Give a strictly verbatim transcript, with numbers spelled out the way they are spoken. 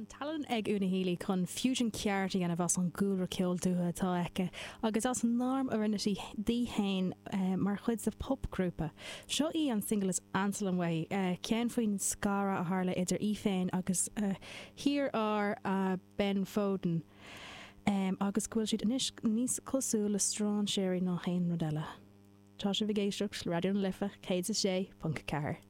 Tá an tallann ag Una Healy chun fusion ceart a dhéanamh as an gcúlra ceol dúiche atá aici agus as an arm a rinne sí di féin eh, mar chuid de popghrúpa. Seo í an single is ansa liom uaithi eh, ceann faoin scaradh a tharla idir í féin agus uh, hiarfhear uh, Ben Foden. Um, agus go bhfuil siad anois níos cosúil le strainséirí ná haon rud eile. Tá sibh ag éisteacht le Raidió na Life céad a sé ponc ceathair.